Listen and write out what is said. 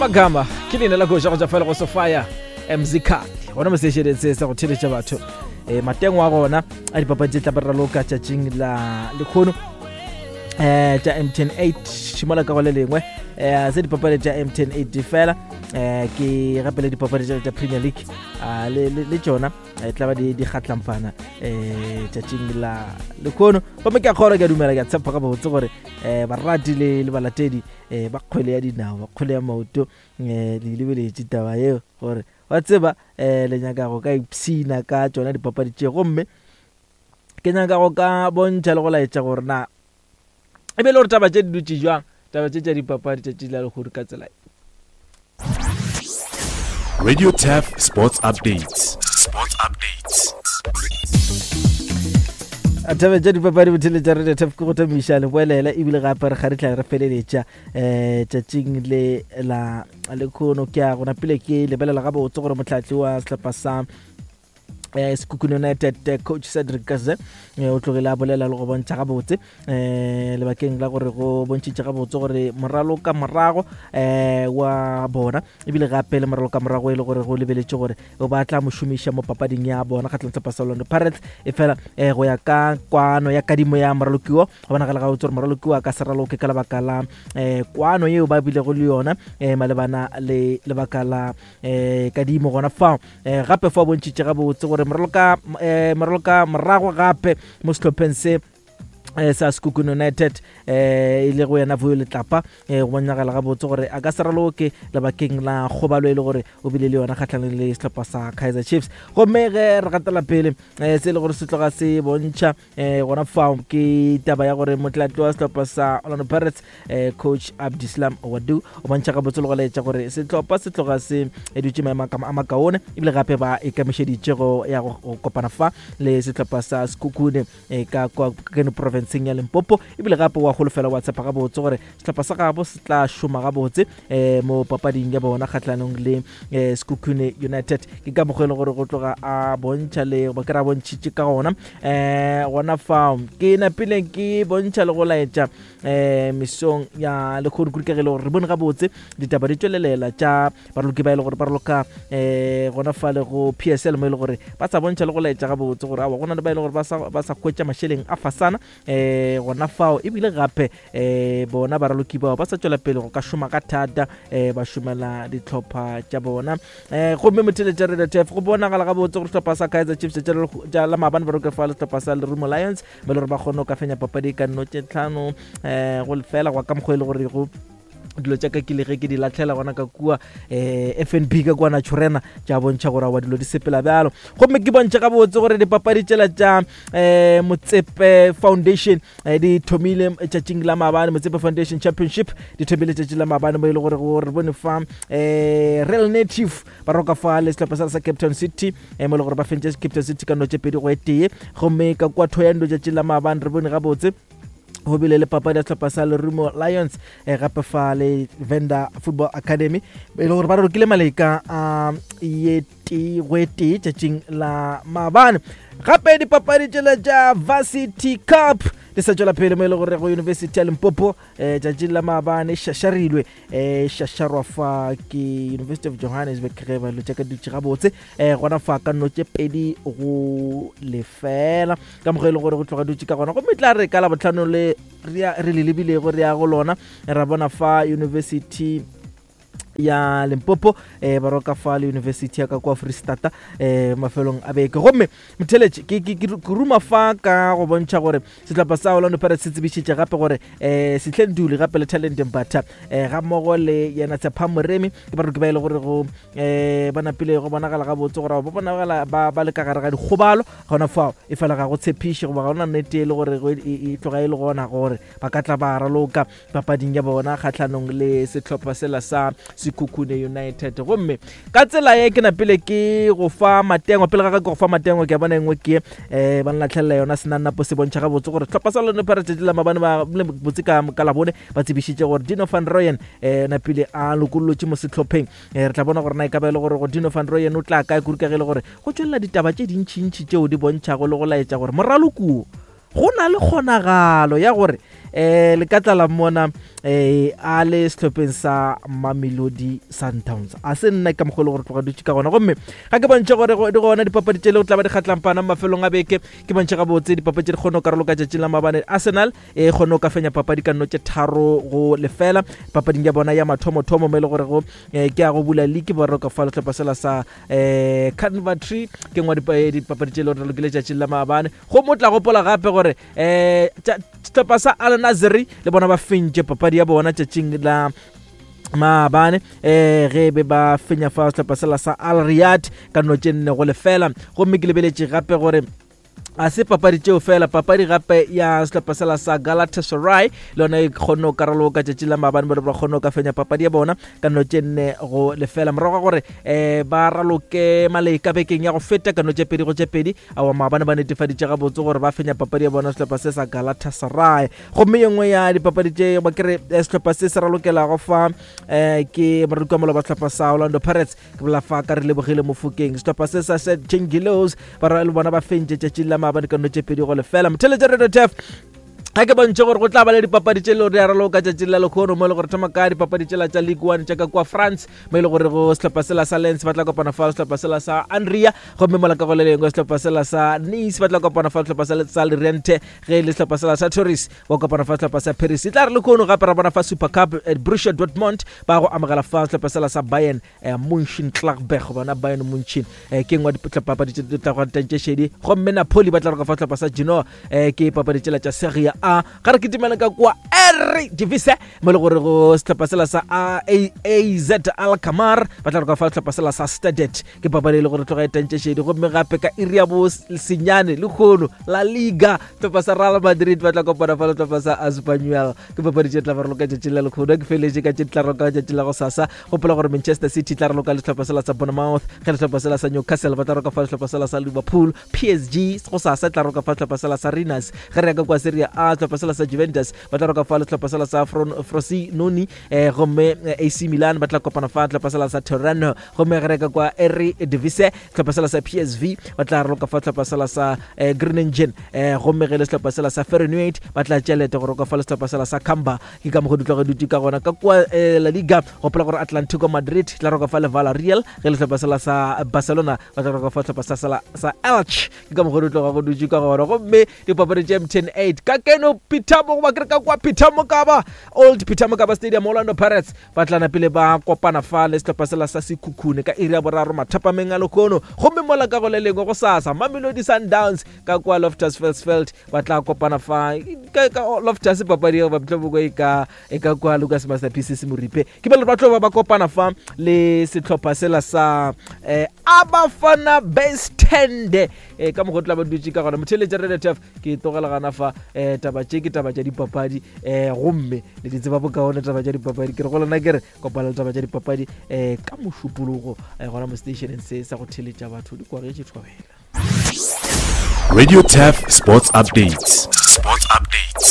Amagama ke leina la koša go tšwa fela go Sofia Mzikali gona mo sešedeng se sa go theletša batho um matengo a gona a dipapadi tše tla ba raloka tšatšing la lekgono um tša mtn 8 šimola ka go le lengwe um se dipapadi tša mtn 8 fela um ke gape le dipapadi tša premier league ah, le tšona e tla ba di kgatlampana um tšatšing la lekgono gomme ke a kgora ke a dumela ke a tshepa gabotse gore um barati le balatedi um ba kgwele ya dinao ba kgwele ya maoto um le lebeletše taba yeo gore wa tseba um le nyaka go ka ipshina ka tšona dipapadi tše gomme ke nyaka go ka bontšha le go laetša gore na e be le gore taba tše di dutše jwang taba tše tša dipapadi tšatši la lehodu ka tsela Radio Taf Sports Updates. Sports Updates. taba tša dipapadi bothele tša radio taf ke go thomiša leboelela ebile gape re kgaritla re feleletša um tšatšing le la lekhono ke a gona pele ke lebelela gabotse gore motlhatli wa sehlopha sa eh, Sekhukhune United eh, coach Cedric Kaze eh, o tlogile a bolela le go bontšha gabotse eh, lebakeng la gore go bontšhitše gabotse gore moralo ka morago eh, wa bona ebile gape le moralo ka morago e le gore go lebeletše gore o ba tla mo šomiša mo papading ya bona kgatlhong sehlopha sa Orlando Pirates e fela eh, go ya ka kwano ya kadimo ya moralokiwo go bonagala gabotse gore moralokiwo a ka se raloke ka lebaka la eh, kwano yeo ba bilego le yona eh, malebana le lebaka la eh, kadimo gona fao eh, gape fa o bontšhitše gabotse gore moraloka eh, moraloka morago gape mo sehlopheng se eh, sa Sekhukhune United eh, e le go yena Vuyo Letlapa eh, go bonagala gabotse gore a ka se raloke lebakeng la kgobalo e le gore o bile le yona kgatlhanong le sehlopha sa Kaizer Chiefs gomme ge re gatela pele eh, se e le gore se tloga se bontšha eh, gona fao ke taba ya gore motlatli wa sehlopha sa Orlando Pirates eh, coach Abdislam Wadu o bontšha gabotse le go laetša gore sehlopha se tloga se dutše maemo a makaone ebile gape ba ikemišeditše go ya go kopana fa le sehlopha sa Sekhukhune eh, ka kwa keno provinceng ya Limpopo ebile gape wa holofela wa tshepa gabotse gore sehlopha sa gabo se tla šoma gabotse eh, mo papading ya bona kgahlanong le eh, Sekhukhune United ke ka mokgwa e le gore go tloga a bontšha le ba ke ra bontšhitše ka gona eh, gona fao ke napile ke bontšha le go laetša eh, mesong ya lekgono kudu ka ge e le gore re bone gabotse ditaba di tšwelelela tša baraloki ba e le gore ba raloka eh, gona fa le go PSL mo e le gore ba sa bontšha le go laetša gabotse gore awa go na le ba e le gore ba sa hwetša mašeleng a fasana eh gona fao ebile gape eh bona baraloki bao ba sa tšwela pele go ka šoma ka thata eh ba šomela dihlopha tša bona eh gomme motheletša Radio Turf go bonagala gabotse gore sehlopha sa Kaizer Chiefs tša la maabane ba roke fa le sehlopha sa Lerumo Lions ba le gore ba kgone go ka fenya papadi ka nno tše tlhano eh go lefela go ka mokgwa e le gore go dilo tša ka ke le ge ke di latlhela gona ka kua um fnb ka kua naturena tša bontšha gore awa dilo di sepela bjalo gomme ke bontšha gabotse gore dipapadi tšela tša um motsepe foundation um di thomile tšatšing la maabane motsepe foundation championship di thomile tšatši la maabane mo e le gore gore re bone fa um real native ba roka fa le sehlopha sa sa cape town city um mo e le gore ba fentše cape town city ka no tše pedi go e tee gomme ka kua thoyando tšatši la maabane re bone gabotse go bile le papadi ya sehlopha sa Lerumo Lions eh, gape fa le Venda Football Academy e le gore ba rokile maleka a ye tee go e tee tšatšing la maabane gape dipapadi tšela tša Varsity Cup di sa tšwela pele mo e le gore go University ya Limpopo eh, tšatšing la maabane šašarilwe eh, šašarwa fa ke University of Johannesburg ge ba dilo tša ka dutše gabotse eh, gona fa ka nno tše pedi go lefela ka mokgwa e leng gore go tloga dutše ka gona gomme tla re ka labotlhano le re le lebilego re ya go lona ra bona fa university ya limpopo eh, ba roka fa le university ya ka kwa freestata eh, mafelong a beke gomme motheletše ke, ke, ke, ke ruma fa ka go bontšha gore sehlopha sa orlando pirates se tsebišitše gape gore um sehleng dule gape le talent mbatha um ga mmogo le yena tshepa moremi ke baroki ba e le gore go um ba napile go bonagala gabotse gore ba bonagala ba le ka gare ga dikgobalo gona fao e fela ga go tshepiše goba ga gona nnete e le gore e tloga e le gona gore ba ka tla ba raloka papading ya bona kgatlhanong le sehlopha sela sa Sekhukhune United gomme ka tsela ye ke napile ke go fa matengo pele ga ka ke go fa matengo ke a bona engwe ke um ba nlatlhelela yona senannapo se bontšha gabotse gore sehlopha sa Orlando Pirates la mabane ba botse ka ka labone ba tsebišitše gore Dino van Rooyen um napile a lokollotše mo sehlopheng um re tla bona gore na e ka ba e le gore go Dino van Rooyen o tla kae kudu ka ge e le gore go tšwelela ditaba tše dintšintši tšeo di bontšhago le go laetša gore moralokuo Go na le kgonagalo ya gore um le ka tlala mmona um a le sehlopheng sa Mamelodi Sundowns. A se nna ka mokgwa e le gore tloga dutše ka gona. Gomme ga ke bontšhe gore di gona dipapadi tše le go tla ba di kgatlampana mafelong a beke, ke bontšhe gabotse dipapadi tše di kgone go karolo ka tšatšing la maabane. Arsenal e kgone go ka fenya papadi ka nno tše 3-0 papading ya bona ya mathomothomo, mo e le gore go ke ya go bula league ba roka fa sehlopha sela sa Coventry. Ke nngwe dipapadi tše le gore lokile tšatšing la maabane. Go mo tla gopola gape gore sehlopha sa Al Nassr le bona ba fentše papadi ya bona tšatšing la maabane, ge be ba fenya fa sehlopha sela sa Al Riyadh ka nno tše 4-0. Gomme ke lebeletše gape gore a se papadi tšeo fela, papadi gape ya sehlopha sela sa Galatasaray le yona e kgonne go karoloka tšatši la maabane, ba ba kgonne go ka fenya papadi ya bona ka nno tše 4-0 morago ga gore ba raloke maleka bekeng ya go feta ka nno tše 2-2. Awa, maabane ba netefaditše gabotse gore ba fenya papadi ya bona sehlopha se sa Galatasaray. Gomme ye nngwe ya dipapadi tše ba kere sehlopha se se ralokelago fa ke moraloki wa maloba sehlopha sa Orlando Pirates, ke bolela fa ka re lebogile Mofokeng. Sehlopha se sa St Chengilos ba le bona ba fentše tšatšing la maabane ka nno tše 2-0. Motheletša Radio Turf, ga ke bontšhe gore go tla ba le dipapadi tše le gore di araloka tšatšing la lekgono, mo e le gore thoma ka dipapadi tšela tša League One tša ka kua France, mo e le gore go sehlopha sela sa Lens ba tla kopana fa sehlopha sela sa Andria, gomme mola ka go le lengwe sehlopha sela sa Nice ba tla kopana fa sehlopha sa Loriente, ge e le sehlopha sela sa Toris ba kopana fa sehlopha sa Paris. E tla re lekgono gape ra bona fa Super Cup, Borussia Dortmund ba go amogela fa sehlopha sela sa Bayern Mönchengladbach, bona Bayern Munchen, ke nngwe dipapadi tše tla go tantše šedi. Gomme Napoli ba tla roka fa sehlopha sa Genoa, ke papadi tšela tša Serie A. Ga re kitimela ka kua Eredivisie, mo le gore go sehlopha sela sa AZ Alkmaar ba tla roka fa sehlopha sela sa Stadet, ke papadi e le gore tloga e tantše šedi. Gomme gape ka iri ya bo senyane lekgono La Liga, sehlopha sa Real Madrid ba tla kopana fa le sehlopha sa Espanyol, ke papadi tše tla ba raloka tšatšing la lekgono. Ke feletše ka tše tla raloka tšatšing la go sasa. Gopola gore Manchester City tla raloka le sehlopha sela sa Bournemouth, ge sehlopha sela sa Newcastle ba tla roka fa sehlopha sela sa Liverpool. PSG go sasa tla roka fa sehlopha sela sa Rennes. Ge re ya ka kwa Serie A, sehlopha sela sa Juventus ba tla roka fa le sehlopha sela sa Frosinone, gomme AC Milan ba tla kopana fa sehlopha sela sa Torino. Gomme ge re ya ka kwa Eredivisie, sehlopha sela sa PSV ba tla roka fa sehlopha sela sa Groningen, gomme ge le sehlopha sela sa Feyenoord ba tla tšea leeto go roka fa le sehlopha sela sa Cambuur. Ke ka mokgwa di tloga dutše ka gona ka kua La Liga. Gopola gore Atlantico Madrid tla roka fa le Villarreal, ge le sehlopha sela sa Barcelona ba tla roka fa sehlopha sa sela sa Elche. Ke ka mokgwa di tloga go dutše ka gona. Gomme dipapadi tša MTN 8 ka keno Peter mo goba ke re ka kua Peter Mokaba, Old Peter Mokaba Stadium, Orlando Pirates ba tlana pele ba kopana fa le sehlopha sela sa Sekhukhune ka iri ya 3 mathapameng a lekgono. Gomme mola ka go le lengwe go sasa Mamelodi Sundowns ka kua Loftus Versfeld ba tla kopana fa ka Loftus, papadi eo ba mohlomongwe e ka kua Lucas Masterpieces Moripe, ke ba ba tlo ba ba kopana fa le sehlopha sela sa Abafana Bestende. Ka mokgwa tla ba dutše ka gona. Motheletša Radio Turf, ke tlogela gana fa. Taba tše ke taba tša dipapadi, gomme le di tseba bokaone taba tša dipapadi. Ke re go lena, ke re kopana le taba tša dipapadi ka mošupologo, gona mo stationeng se sa go theletša batho di kwagetše thobela. Radio Turf Sports Updates.